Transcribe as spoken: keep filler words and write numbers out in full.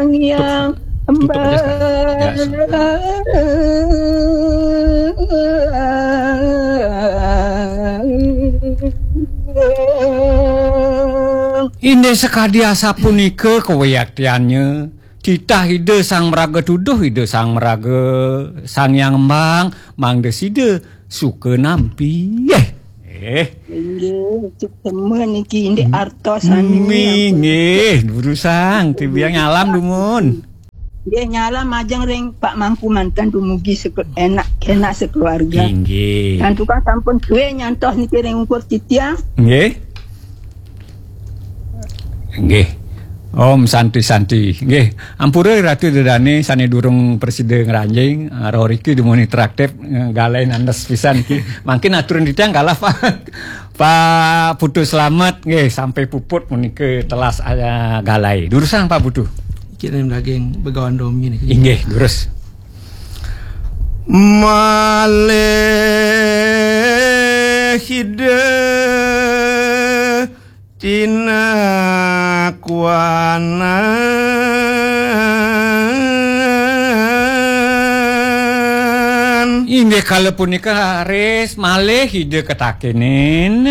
Yang tutup aja sekarang. Ya, Inggih sakadi asapunika kawiaktiannya, titah Ida Sang Maraga Tuduh, Ida Sang Maraga Sang Hyang Embang, mangda sida suka nampi. Eh. Eh. Inggih, suksma niki indik artos sami. Inggih, durusang, tibiang nyalam dumun. Nggih, nyalam majeng ring Pak Mangku manten dumugi seke-, enak, enak sekeluarga. Inggih. Santukan sampun suwe nyantos niki ring ungkur titiang. Nggih. Nggih. Om Santi Santi. Nggih. Ampura Ratu Ida Dane sane durung prasida ngranjing, ah, roh riki dumun interaktif, eh, galai nandes pisan iki. Mangkin aturan titiang galah Pak, Pak Putu Slamet nggih sampai puput menika telas, ah, galai. Durusang Pak Putu. Kirim daging begawan domi niki. Inggih, durus. Malih Ida tinakuanan. Inggih kala punika raris malih Ida katakenin.